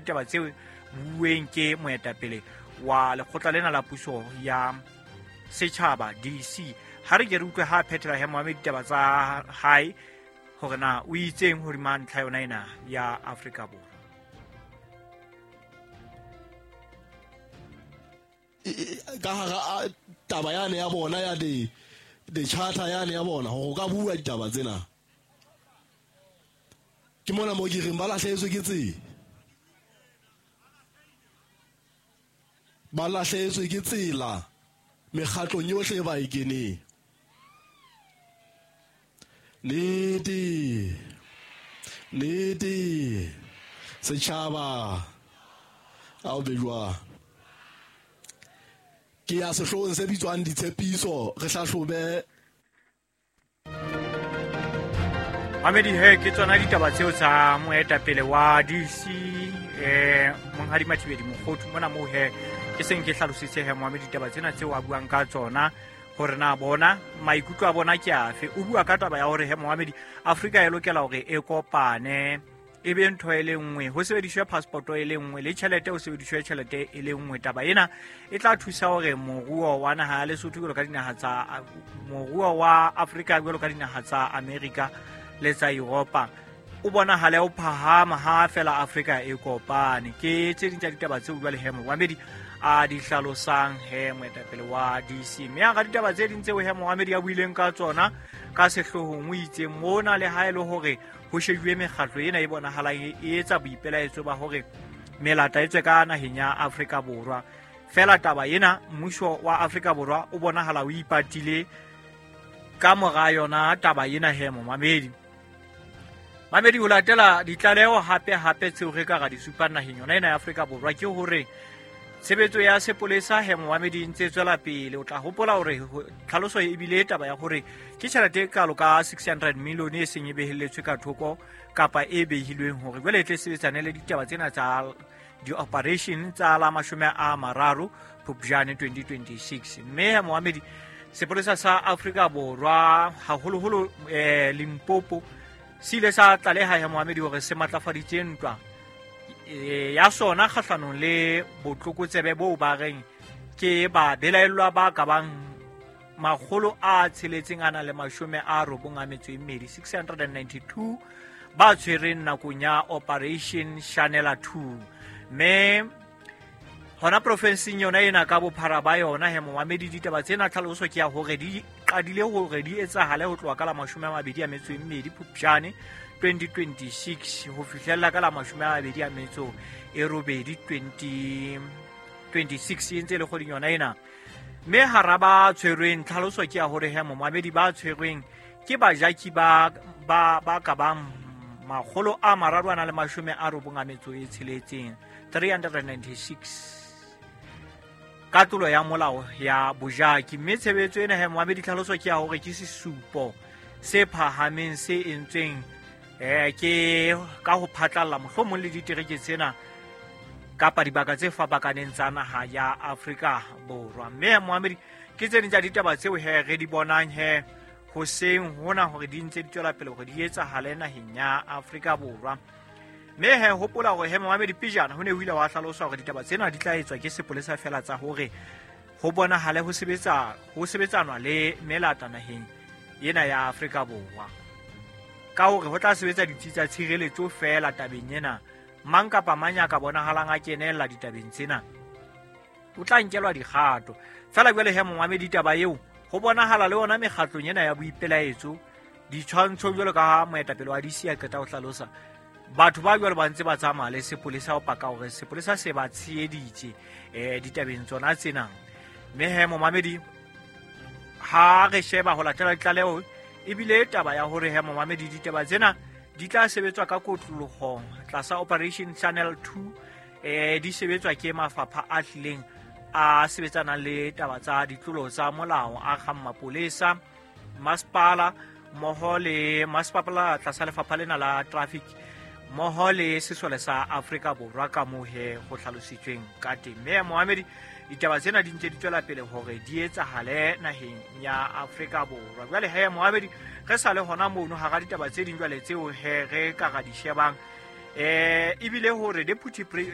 ditaba tseo bueng ke moetapele wa lekgotla lena la puso ya setjhaba DC. Ha re ke re utlwe ha phethela he momamedi ditaba tsa hae hore na o itseng hodima ntlha yona ena ya Afrika Borwa. Ka hara taba yane ya bona ya di charter yane ya bona hore o ka bua ditaba tsena. Ke mona mo ke reng ba lahlehetswe ke tsela. Ba lahlehetswe ke tsela mekgatlong yohle ba e keneng. Nnete, nnete, setjhaba a o be jwang. Ke ya sehloohong se bitswang ditshepiso, re hlahlobe. Mamedi he ke tsona ditaba tseo tsa moetapele wa DC Monghadi Mathibedi Mokhothu mona moo he ke seng ke hlalositse he momamedi ditaba tsena tseo a buang ka tsona hore na bona maikutlo a bona ke afe. O bua ka taba ya hore he momamedi Afrika e lokela hore e kopane e be ntho e le nngwe, ho sebediswe passport e le nngwe le tjhelete ho sebediswe tjhelete e le nngwe. Taba ena e tla thusa hore moruo wa naha ya Lesotho jwalo ka dinaha tsa moruo wa Afrika jwalo ka dinaha tsa Amerika le tsa Europa o bonahale o phahama ha fela Afrika e kopane. Ke tse ding tsa ditaba tseo jwale he momamedi a di hlalosang he moetapele wa DC. Mme hara ditaba tse ding tseo he momamedi a buileng ka tsona ka sehloohong o itse mona le ha e le hore ho shejuwe mekgatlo ena e bonahalang e etsa boipelaetso ba hore melata e tswe ka naheng ya Afrika Borwa. Fela taba ena mmuso wa Afrika Borwa o bonahala o ipatile ka mora yona taba ena he momamedi. Mamedi ho latela ditlaleho hape hape tseo re ka ra di supang naheng yona ena ya Afrika Borwa ke hore tshebetso ya sepolesa he momamedi e ntse tswela pele. O tla hopola hore tlhaloso e bile taba ya hore ke tjhelete e kalo ka 600 million e seng e behelletswe ka thoko kapa e behilweng hore jwale e tle sebetsane le ditaba tsena tsa di-operation tsa la 30 Phupjane 2026. Mme he momamedi sepolesa sa Afrika Borwa haholoholo Limpopo se ile sa tlaleha he momamedi hore se matlafaditse ntwa ya sona kgahlanong le botlokotsebe boo ba reng ke ba belaellwa ba ka bang 692 692 ba tshwereng nakong ya Operation Shanela 2. Mme hona profenseng yona ena ka bophara ba yona he momamedi ditaba tsena tlhaloso ke ya hore di qadile hore di etsahale ho tloha ka la 22 Phupjane 2026 ho fihlella ka la 28 2026 e ntse le kgweding yona ena. Mme hara ba tshwerweng tlhaloso ke ya hore he momamedi ba tshwerweng ke bajaki ba ka bang 396 396 ka tlolo ya molao ya bojaki. Mme tshebetso ena he momamedi tlhaloso ke ya hore ke sesupo se phahameng se entsweng ke ka ho phatlalla mohlomong le ditereke tsena kapa dibaka tse fapakaneng tsa naha ya Afrika Borwa. Mme momamedi ke tse ding tsa ditaba tseo he re di bonang he hoseng hona hore di ntse di tswela pele hore di etsahale naheng ya Afrika Borwa. Mme he hopola hore he momamedi pejana ho ne ho ile wa hlalosa hore ditaba tsena di tla etswa ke sepolesa fela tsa hore ho bonahale ho sebetsanwa le melata naheng ena ya Afrika Borwa. Ka hore ho tla sebetsa ditsi tsa tshireletso fela tabeng ena, mang kapa mang ya ka bonahalang a kenella ditabeng tsena o tla nkelwa dikgato. Fela jwale he momamedi taba eo ho bonahala le yona mekgatlong ena ya boipelaetso ditshwantsho jwalo ka moetapele wa DC a qeta ho hlalosa batho ba jwalo ba ntse ba tsamaya le sepolesa ho paka hore sepolesa se ba tsheheditse ditabeng tsona tsena. Mme he momamedi ha re sheba ho latela ditlaleho ebile taba ya hore he momamedi ditaba tsena di tla sebetswa ka kotloloho tlasa Operation Channel 2 di sebetswa ke mafapha a hlileng a sebetsanang le taba tsa ditlolo tsa molao a kgang mapolesa, masepala mmoho le masepala tlasa lefapha lena la traffic mmoho le sesole sa Afrika Borwa ka moo he ho hlalositsweng ka teng. Mme momamedi ditaba tsena di ntse di tswela pele hore di etsahale naheng ya Afrika Borwa. Jwale he momamedi re sa le hona mono hara ditaba tse ding jwale tseo he re ka ra di shebang ebile hore deputy